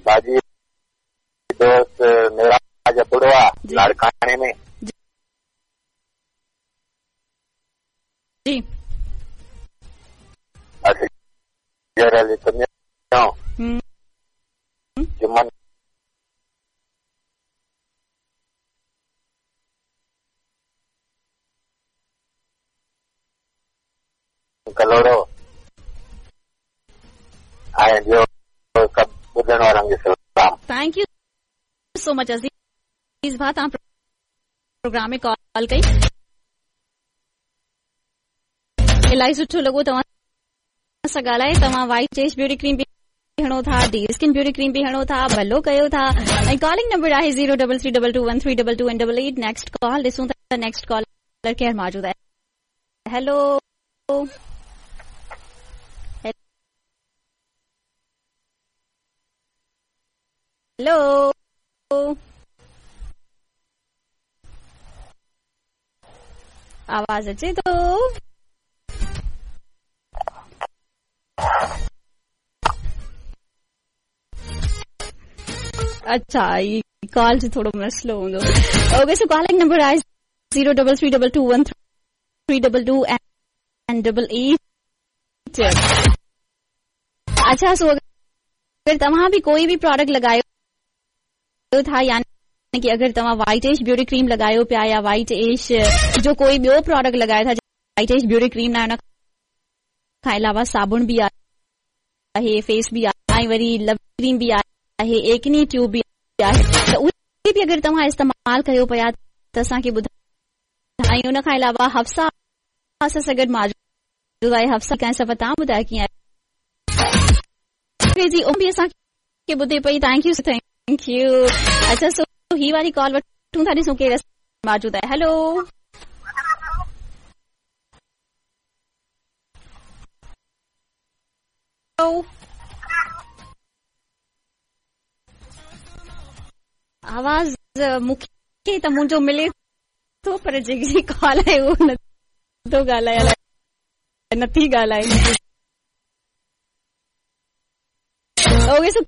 भाजी दोस्त मेरा ابڙو آ لاڙڪاڻي ۾. جي. اصغر علي تنيو. جمن ڪلهوڙو ۽ ٻيو سڀ ٻڌڻ وارن کي سلام. Thank you so much عزيز ڀاء توهان پروگرام ۾ ڪال ڪئي الاهي سٺو لڳو توهان سان ڳالهائي توهان وائيٽ ايش بيوٽي ڪريم به هڻو ٿا ڊي اسڪن بيوٽي ڪريم به هڻو ٿا ڀلو ڪيو ٿا ۽ ڪالنگ نمبر آهي 03322132 2 ۽ 88 نيڪسٽ ڪال ڏسون ٿا نيڪسٽ ڪالر ڪير موجود آهي هيلو هيلو آواز اچي ٿو؟ اڇا هي ڪال جو ٿورو مسئلو هوندو اوڪي سو ڪالنگ نمبر آهي 03322132 ۽ 88 اڇا سو اگر توهان به ڪوئي به پراڊڪٽ لڳايو ٿا يعني ڪي اگر توهان وائيٽ ايش بيوٽي ڪريم لڳايو پيا يا وائيٽ ايش جو ڪوئي ٻيو پراڊڪٽ لڳايو ٿا وائيٽ ايش بيوٽي ڪريم نه آهي ان کان علاوه صابڻ به آهي فيس به آهي ۽ وري لو ڪريم به آهي ايڪني ٽيوب به آهي ته اهي به اگر توهان استعمال ڪيو پيا ته اسان کي ٻڌايو ۽ ان کان علاوه حفصه اسان سان گڏ موجود آهي حفصه ڪنهن سفر توهان ٻڌايو ڪيئن آهي جي به اسان کي ٻڌي پئي thank you thank you اڇا سو هي واري ڪال وٺون ٿا ڏسون ڪير موجود آهي هيلو آواز مونکي ته منهنجو ملي ٿو پر جيڪي ڪال آهي اهو نٿو ڳالهائي نٿي ڳالهائي اوڪي سو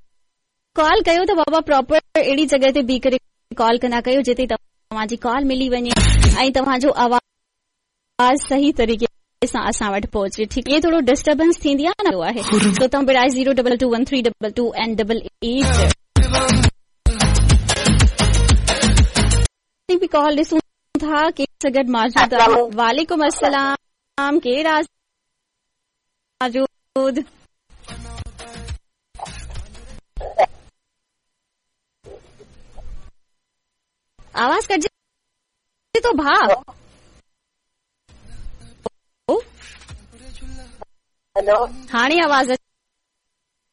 ڪال ڪيو ته بابا پراپر اهڙي جڳهه تي بيهي ڪري ڪال ڪندا ڪيو جتي توهان جي ڪال ملي وڃي ۽ توهان جو آواز صحيح طريقي سان اسان وٽ پهچي ٺيڪ ائين ٿورو ڊسٽربنس ٿيندي آهي نه آهي سو توهان برائي 0221322 ۽ 88 به ڪال ڏسون ٿا ڪير سان گڏ موجود آهي وعليڪم السلام ڪير آهي موجود آواز ڪٽجي ٿو ڀاء هيلو هاڻي آواز